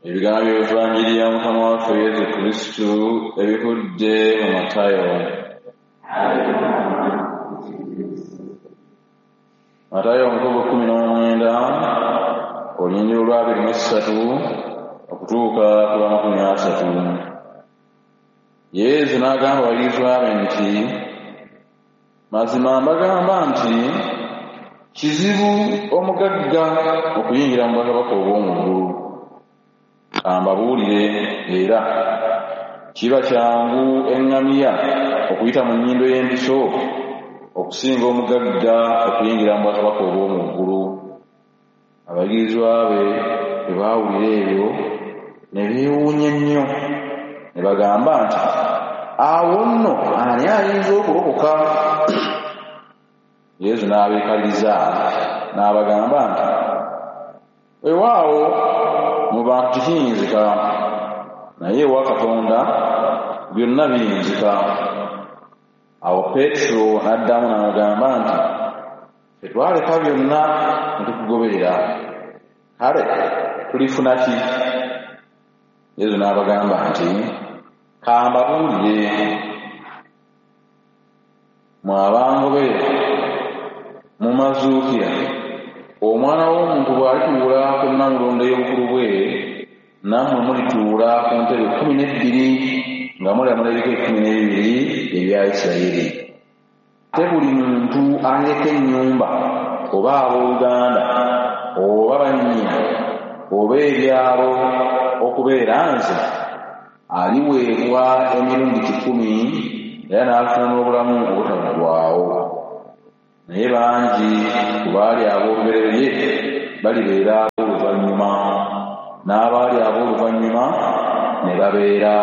Ebigambo by'Evanjiri ya Mukama waffe Yesu Kristu ebivudde mu Matayo. Matayo omutwe 19 olunyiriri olwa 23 okutuuka ku lwa 30. Yesu n'agamba abayigirizwa be nti, mazima mbagamba nti kizibu omugagga okuyingira mu bwakabaka obw'omu ggulu. Kambabuulire era kiba kyangu eŋŋamiya okuyita mu nnyindo y'empiso okusinga omugagga okuyingira mu bwakabaka obw'omu ggulu. Abayigirizwa be bwe baawulira ebyo ne beewuunya nnyo, ne bagamba nti, awo nno ani ayinza okulokoka? Yesu n'abeekaliriza n'abagamba nti, weewaawo mu bantu tekiyinzika, naye ewa Katonda byonna biyinzika. Awo Peetero n'addamu n'amugamba nti, ffe twaleka byonna ne tukugoberera, kale tulifuna ki? Yesu n'abagamba nti, kambabuulire, mmwe abangoberera mu mazuukira, Omwana w'omuntu bw'alituula ku nnamulondo y'obukulu bwe, nammwe mulituula ku ntebe 12 nga mulamula ebika 12 ebya Isirayiri. Ate buli muntu alireka ennyumba oba abooluganda oba bannyina oba ebyalo okubeera nze, aliweebwa emirundi 100 era n'afuna n'obulamu obutaggwaawo. Naye bangi ku baali ab'olubereberye balibeera ab'oluvannyuma, n'abaali ab'oluvannyuma ne babeera